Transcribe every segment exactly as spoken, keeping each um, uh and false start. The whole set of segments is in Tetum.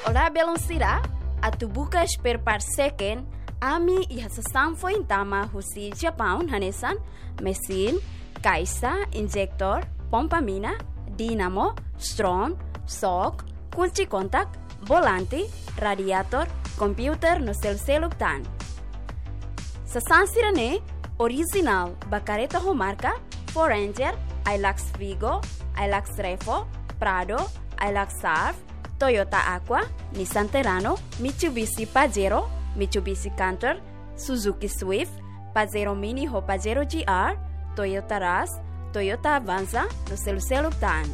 Olá, belun sira, atu buka spare part second, ami iha sasán foin tama husi Japaun hanesan mesin, kaixa, injektór, pompa mina, dínamo, stron, sok, kunci kontak, volante, radiator, kompiuter no seluk-seluk tan. Sasán sira-ne'e orijinál ba kareta ho marka Ford Ranger, Hilux Vigo, Hilux Revo, Prado, Hilux Surf, Toyota Aqua, Nissan Terrano, Mitsubishi Pajero, Mitsubishi Canter, Suzuki Swift, Pajero Mini ho Pajero G R, Toyota Rush, Toyota Avanza no seluk-seluk tan.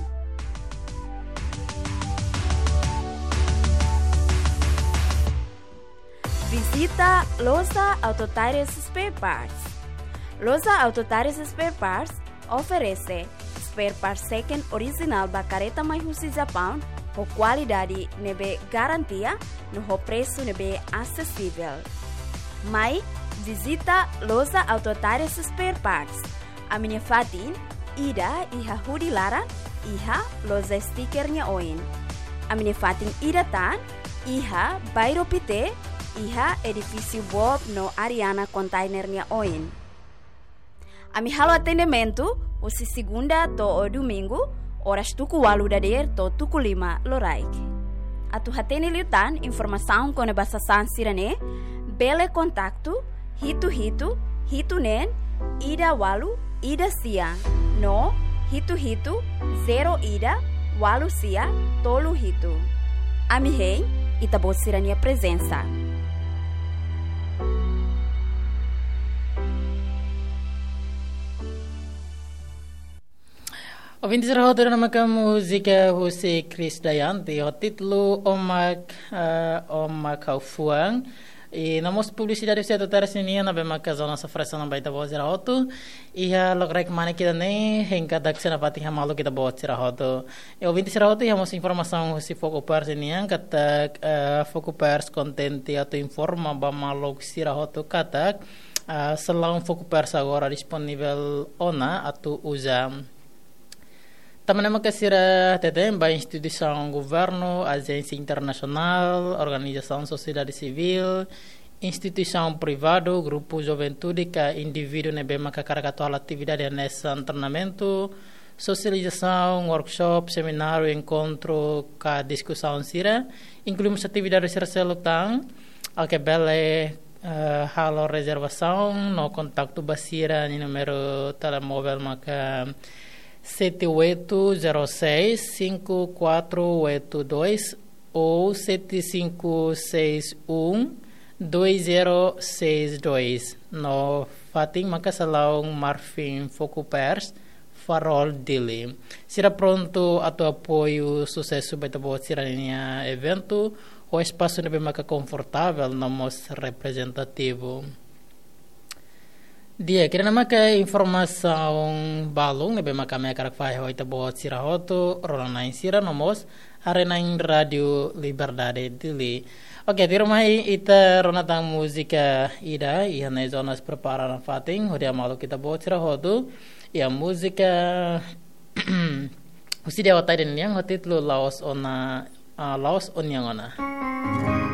Vizita Loja Auto Tires Spare Parts. Loja Auto Tires Spare Parts oferese spare part second orijinál ba kareta mai husi Japaun ho kualidade ne'ebé garantia no ho presu ne'ebé asesivel. Mai vizita Loja Auto Tires Spare Parts. Ami-nia fatin ida iha hudi laran, iha loja stiker nia oin. Ami-nia fatin ida tan iha Bairro Pité, iha edifísiu Bob no Ariana Container nia oin. Ami halo atendimentu husi segunda to'o domingu, oras tuku ualu dadeer to'o tuku lima loraik. Atu hatene liután informasaun kona-ba sasán sira-ne'e, bele kontaktu hitu hitu hitu neen ida ualu ida sia no hitu hitu zero ida ualu sia tolu hitu. Ami hein ita-boot sira-nia prezensa. Ouvinte sira hotu, ida-ne'e maka múzika husi Krisdayanti ho títulu Omak, eh, Omak Ha'u Fuan. I no mós publisidade husi Auto Tires nian, ne'ebé maka zona safresa na baita boa sira hotu. Iha lokraik mane ida-ne'e, hein katak sei nafatin hamaluk ita-boot sira hotu. I ouvinte sira hotu, iha mós informasaun husi Focupers nian, katak, eh, Focupers kontente atu informa ba maluk sira hotu katak, ah, salaun Focupers agora disponivel ona atu uza. Tanba ne'e maka sira hateten ba instituisaun governu, ajénsia internasionál, organizasaun sosiedade sivíl, instituisaun privadu, grupu juventude ka indivíduu ne'ebé maka hakarak atu halo atividade hanesan treinamentu, sosializasaun, workshop, semináriu, enkontru ka diskusaun sira, inklui mós atividade sira seluk tan, oke, bele, eh, halo rezervasaun no kontaktu ba sira-nia númeru telemóvel maka sete oito zero seis cinco quatro oito dois ou sete cinco seis um dois zero seis dois. No fatin maka salaun Marfin Focupers, Farol, Dili. Sira prontu atu apoiu susesu ba ita-boot sira-nia eventu, ho espasu ne'ebé maka konfortavel no mós reprezentativu. Di'ak, ida-ne'e maka informasaun balun ne'ebé maka ami hakarak fahe ho ita-boot sira hotu, rona-na'in sira no mós haree-na'in Rádio Liberdade Dili. Oke, tuirmai ita rona tan múzika ida, iha ne'e Jonas prepara nafatin, hodi hamaluk ita-boot sira hotu, iha múzika husi Dewa Taiden nian ho títulu La'ós Ona, ah, La'ós Ó-nian Ona.